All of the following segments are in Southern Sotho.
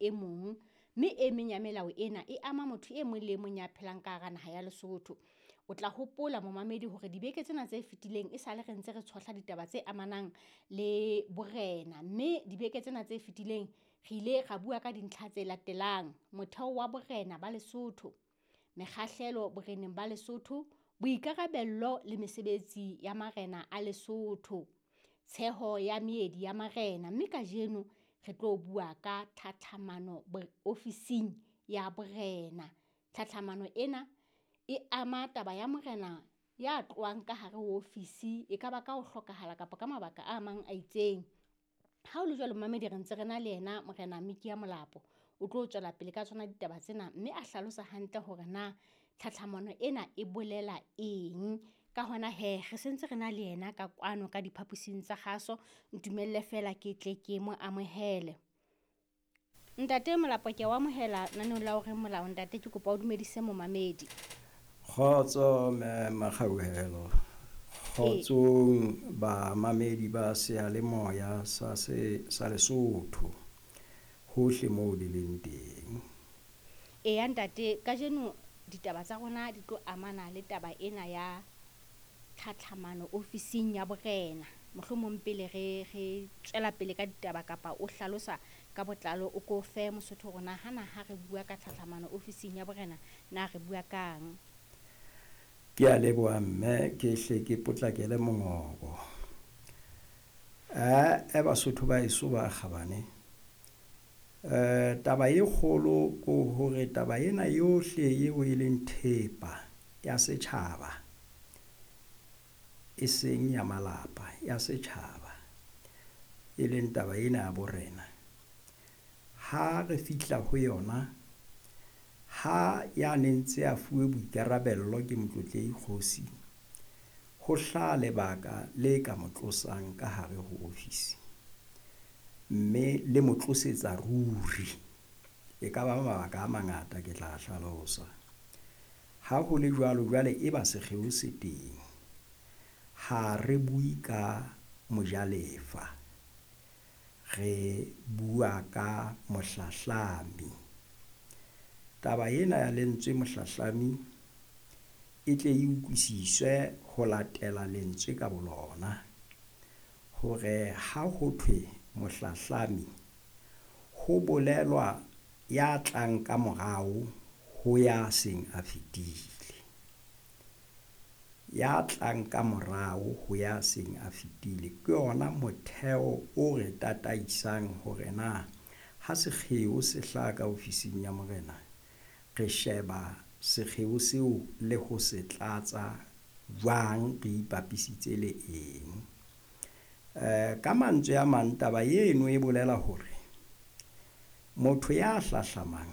e mong. Mme e meng ya melao ena e ama motho e mong le e mong ya phelang ka hara naha ya Lesotho. O tla hopola momamedi hore dibeke tsena tse fetileng e sale re ntse re tshohla ditaba tse amanang le borena, mme dibeke tsena tse fetileng re ile ra bua ka dintlha tse latelang. Motheo wa borena ba Lesotho, mekgahlelo boreneng ba Lesotho, boikarabello le mesebetsi ya marena a Lesotho, tsheho ya meedi ya marena. Mme kajeno re tlo bua ka tlhatlhamano ofising ya borena. Tlhatlhamano ena e ama taba ya morena ya tlohang ka hare ho ofisi, e ka ba ka ho hlokahala kapa ka mabaka a mang a itseng. Ha o le jwalo momamedi re ntse re na le yena Morena Mikia Molapo, o tlo tswela pele ka tsona ditaba tsena mme a hlalosa hantle hore na tlhatlhamano ena e bolela eng. Ka hona hee, re sentse re na le yena ka kwano ka diphaposing tsa kgaso. Ntumelle feela ke tle ke mo amohele. Ntate Molapo, ke a o amohela naneong la O Reng Molao. Ntate, ke kopa o dumedise momamedi. Kgotso mme Makgauhelo. Kgotsong bamamedi ba seyalemoya sa se sa Lesotho hohle moo le leng teng. Eya ntate, kajeno ditaba tsa rona di tlo amana le taba ena ya tlhatlhamano ofising ya borena. Mohlomong pele re re tswela pele ka ditaba kapa o hlalosa ka botlalo, o ko fe Mosotho hore na hana ha re bua ka tlhatlhamano ofising ya borena, na re bua kang? Ke a leboha mme, ke hle ke potlakele mongobo. E Basotho ba heso ba kgabane. Taba e kgolo ko hore taba ena yohle eo e leng thepa ya setjhaba, e seng ya malapa, ya setjhaba, e leng taba ena ya borena. Ha re fihla ho yona, ha ya ne ntse a fuwe boikarabello ke Motlotlehi Kgosi, ho hlaha lebaka le ka mo tlosang ka hare ho ofisi, mme le mo tlosetsa ruri. E ka ba mabaka a mangata ke tla hlalosa. Ha ho le jwalo, jwale e ba sekgeo se teng. Ha re bue ka mojalefa, re bua ka mohlahlami. Taba ena ya lentswe mohlahlami e tle e utlwisiswe ho latela lentswe ka bolona, hore ha ho thwe mohlahlami ho bolelwa ya tlang ka morao ho ya seng a fetile. Ya tlang ka morao ho ya seng a fetile ke yona motheo o re tataisang hore na ha sekgeo se hlaha ka ofising ya morena, re sheba sekgeo seo le ho se tlatsa jwang, re ipapisitse le eng. Ka mantswe a mang, taba eno e bolela hore motho ya hlahlamang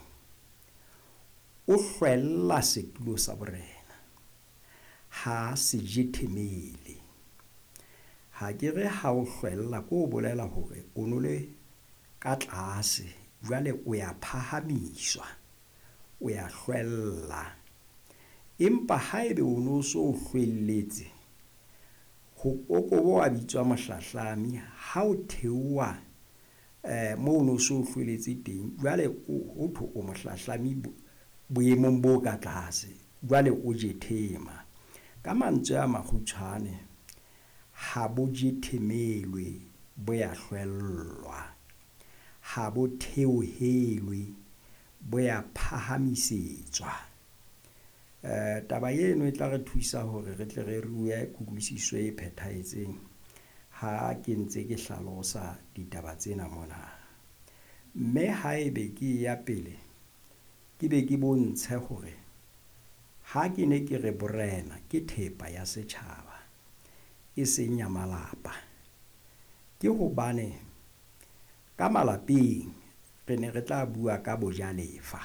o hlwella setulo sa borena, ha se jethemele. Ha ke re ha o hlwella ke o bolela hore o no le ka tlase, jwale o ya phahamiswa, o ya hlwella. Empa haebe o no so hlwelletse, ho kokobo wa bitswa mohlahlami, ha o theoha moo o no so hlwelletse teng, jwale ho thwe o mohlahlami boemong bo ka tlase, jwale o jethema. Ka mantswe a makgutshwane, ha bo jethemelwe, bo ya hlwellwa. Ha bo theohelwe, bo ya phahamisetswa. Taba eno e tla re thusa hore re tle re rue kutlwisiso e phethahetseng ha ke ntse ke hlalosa ditaba tsena mona. Mme haebe ke ya pele, ke be ke bontshe hore ha ke ne ke re borena ke thepa ya setjhaba, e seng ya malapa, ke hobane ka malapeng re ne re tla bua ka bojalefa,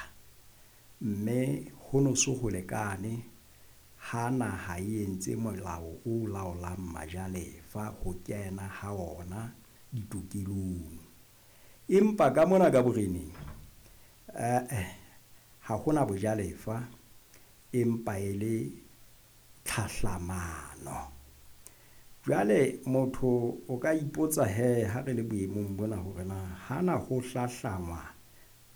mme ho no so ho lekane ha naha e entse molao o laolang majalefa ho kena ha ona ditokelong. Empa ka mona ka boreneng, ha hona bojalefa, empa e le tlhahlamano. Jwale motho o ka ipotsa he ha re le boemong bona hore na hana ho hlahlangwa